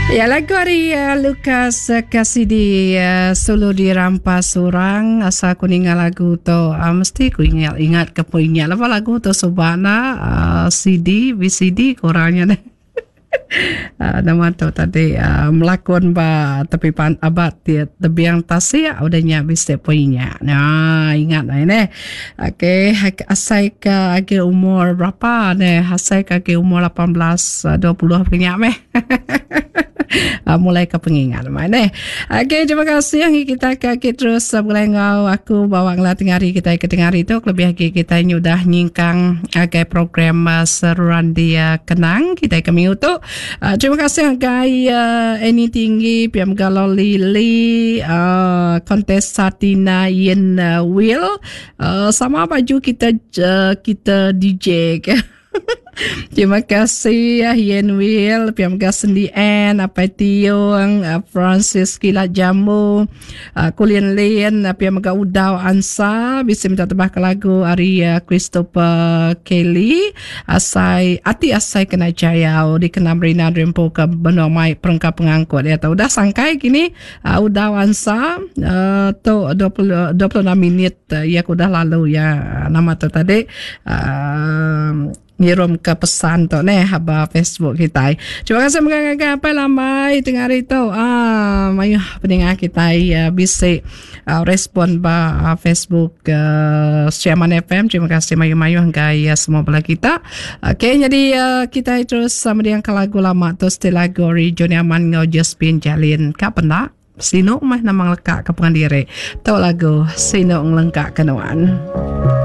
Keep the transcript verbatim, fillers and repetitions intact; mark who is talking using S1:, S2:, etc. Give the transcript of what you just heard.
S1: Ya lagu ari uh, Lucas uh, Cassidy uh, Sulu Dirampas Orang. Asal aku ninga lagu tu uh, mesti ku ingat ingat ke pun ingat lepas lagu tu subana uh, C D V C D kurangnya deh. Uh, nama tu tadi uh, melakon ba tepi pan abat tebiang tasik udah nya bisi punya. Nah, ingat lah ini. Okey, asai ke agi umur berapa ni? Asai ke agi umur lapan belas dua puluh punya meh. uh, mulai ke pengingat mai ni. Okey, terima kasih yang kita ke kita terus boleh ngau aku bawa ngelah tengah hari kita ke tengah hari tu lebih lagi kita nyudah nyingkang agai program uh, seruan dia kenang kita ke minggu tu. Uh, terima kasih agai uh, Eni Tinggi, Piam Galo Lili, uh, Kontesa Tina Yen uh, Will, uh, sama baju kita uh, kita D J ke. Terima kasih ya Yen Will, Piam Sendi N, Apai Tiong, Francis Kilat Jamu, Kulin Lin, Piam Mega Udau Ansa, bisa minta tebah ke lagu ari Christopher Kelly, Asai Ati Asai Kena Jayau dikena Marina Rempo ke benua mai perengka pengangkut ya tahu udah sangkai kini uh, Udau Ansa uh, tu dua puluh dua puluh enam minit uh, ya udah lalu ya nama tu tadi uh, ngirum ke pesan tu neh haba Facebook kita. Terima kasih mengagai apa lambai tengah hari tu. Ah, mayuh pendengar kita ya bisa uh, respon ba uh, Facebook uh, Sri Aman F M. Terima kasih mayu-mayu hingga ya semua bala kita. Okey, jadi uh, kita terus sama dengan lagu lama tu still lagu Johnny Aman ngau Josephine Jalin. Kak pernah Sinu mah nama lekak ke pengadiri. Tu lagu Sinu ngelengkak kenuan.